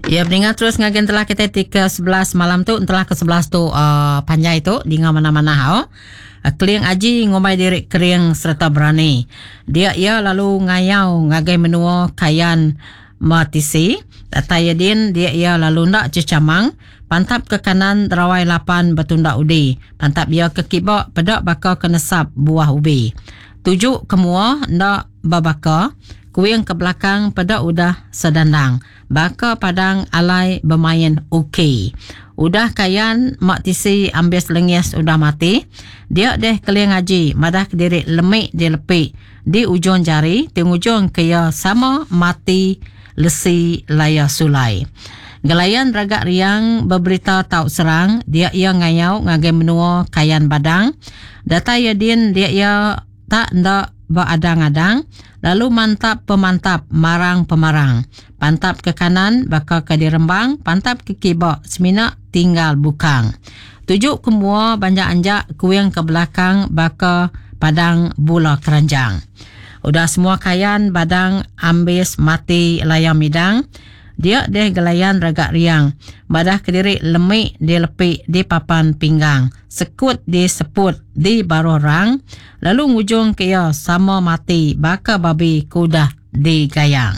Ya peninga terus ngagai entelah kita ti ke 11 malam tu entelah ke 11 tu uh, panjai tu dinga mana-mana hau. Uh, Keling Aji ngumbai diri kering sereta berani. Dia iya lalu ngayau ngagai menua Kayan Matisi. Datai iya din dia iya lalu enda chechamang pantap ke kanan rawai lapan betunda udi. Pantap iya ke kiba peda baka ke nesap buah ubi. Tuju ke mua enda bebaka kuing ke belakang peda udah sedandang. Baka padang alai bemain uki. Udah kayan mak tisi ambis lengis udah mati, dia deh Keling Aji madah kediri lemi dilepi di ujung jari ti ngujung ke iya sama mati lesi laya sulai. Gelayan Ragak Riang beberita tau serang dia iya ngayau ngagai menua Kayan Badang. Datai iya din dia iya tak enda beadang-adang lalu mantap pemantap marang pemarang. Pantap ke kanan baka ke dirembang, pantap ke kiba semina tinggal bukang. Tuju ke mua banjak-anjak kuing ke belakang baka padang bula keranjang. Udah semua kayan badang ambis mati laya midang, Dia deh gelayan ragak riang, madah kediri lemi dilepi di papan pinggang, sekut di seput di baruh rang, lalu ngujung ke iya sama mati baka babi ke udah digayang.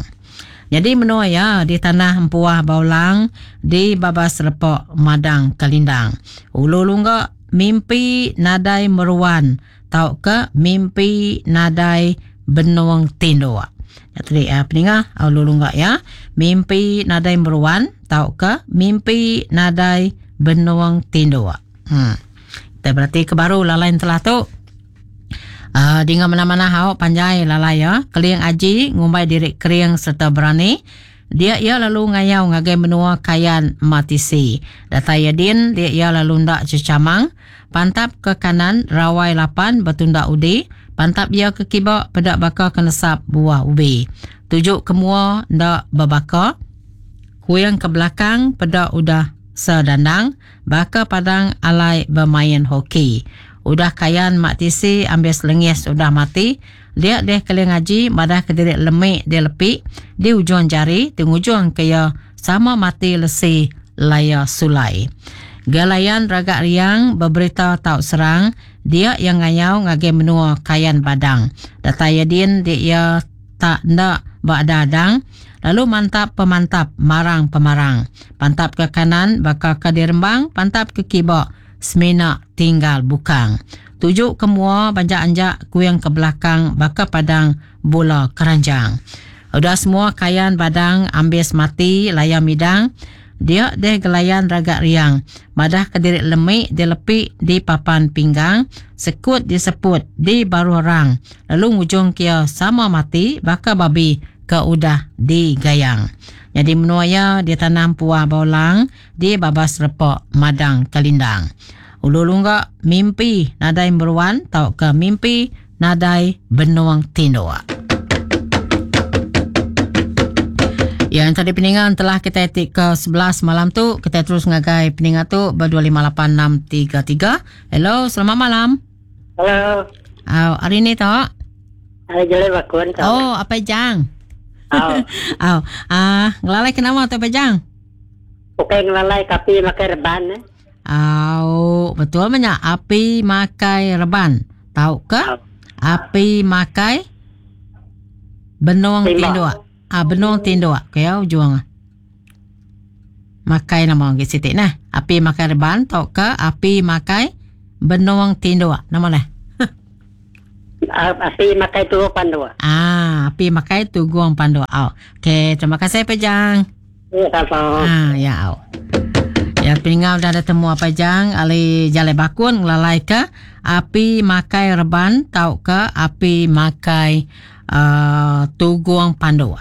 Nyadi menua iya di tanah Empuah Baulang di Babas Repok Madang Kelindang. Ulu lungga mimpi nadai meruan tauka mimpi nadai benung tinduk. Nya tadi uh, peninga ulu lungga ya. Mimpi nadai meruan tauka mimpi nadai benung tinduk. Hmm. Kita berarti ke baru lalai telah tu. Uh, dinga mana-mana hau panjai lalai ya. Keling aji ngumbai diri kering serta berani. Dia iya lalu ngayau ngagai menua Kayan Matisi. Datai iya din, dia iya lalu enda chechamang. Pantap ke kanan rawai lapan betunda udi, pantap iya ke kiba peda baka ke nesap buah ubi. Tuju ke mua enda bebaka, kuing ke belakang peda udah sedandang baka padang alai bemain hoki. Udah Kayan mak tisi ambis lengis udah mati, dia deh Keling Aji madah kediri lemi dilepi di ujung jari ti ngujung ke iya sama mati lesi laya sulai. Gelayan Ragak Riang beberita tau serang dia iya ngayau ngagai menua Kayan Badang. Datai iya din dia iya tak enda beadang-adang lalu mantap pemantap marang pemarang. Pantap ke kanan baka ke dirembang, pantap ke kiba semina tinggal bukang. Tuju ke mua banjak-anjak kuing ke belakang baka padang bula keranjang. Udah semua kayan badang ambis mati laya midang, dia deh gelayan ragak riang madah ke diri lemi dilepi di papan pinggang, sekut diseput di baruh rang lalu ngujung ke iya sama mati baka babi ke udah digayang. Nyadi menua iya ditanam puah baulang di babas repa madang kelindang. Ulu lungga mimpi nadai meruan tauka mimpi nadai benung tinduk. Yang tadi peningan telah kita ti ke 11 malam tu kita terus ngagai peninga tu ber 2586633. Hello, selamat malam. Hello. Oh, hari ni tu. Hari jelai bakun tu. Oh, apa jang? Oh. oh. Ah, ngelalai ke nama tu apa jang? Ukai ngelalai kapi makai reban eh. Au, betul meh nya api makai reban tauka api makai benung tinduk. Ah benung tinduk ke ya ujung. Makai nama agi siti neh. Api makai reban tauka api makai benung tinduk. Nama neh? Api makai tugung panduk. Ah, api makai tugung panduk. Au. Okey, terima kasih Pejang. Ya, sama. Ah, ya. Au. Ya, peninggal dah ada temu apa jang ali jalai bakun ngelalai ke api makai reban tauka api makai uh, tugung panduk.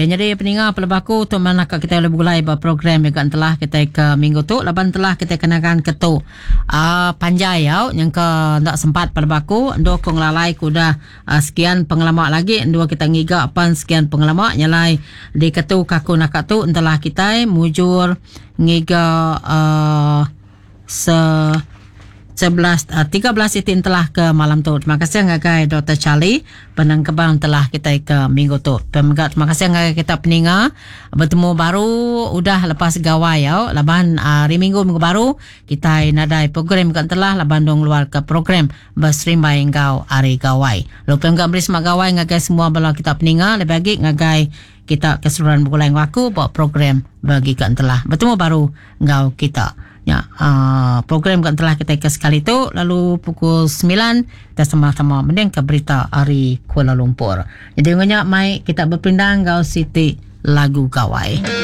Ya, nyadi peninga peleba aku tu mana ka kita boleh begulai ba program juga telah kita ke minggu tu laban telah kita kenakan ke tu uh, panjai au nyangka ndak sempat peleba aku endo ku ngelalai ku udah uh, sekian pengelama lagi endo kita ngiga pan sekian pengelama nyalai di ketu kaku naka tu entelah kita mujur ngiga uh, se. 11 13 iti entelah ke malam tu. Terima kasih ngagai Dr. Charlie penengkebang telah kita ke minggu tu. Pemega terima kasih ngagai kita peninga bertemu baru udah lepas gawai ya. Laban hari minggu minggu baru kita nadai program ke telah laban dong luar ke program berserimbai enggau hari gawai. Lalu pemega beri semak gawai ngagai semua bala kita peninga lebih lagi ngagai kita keseluruhan begulai enggau aku buat program bagi ke entelah. Bertemu baru enggau kita. Ya, program ke telah kita ke sekali tu lalu pukul 9 kita sama-sama mending ke berita hari Kuala Lumpur. Jadi ngonya mai kita berpindang enggau siti lagu gawai.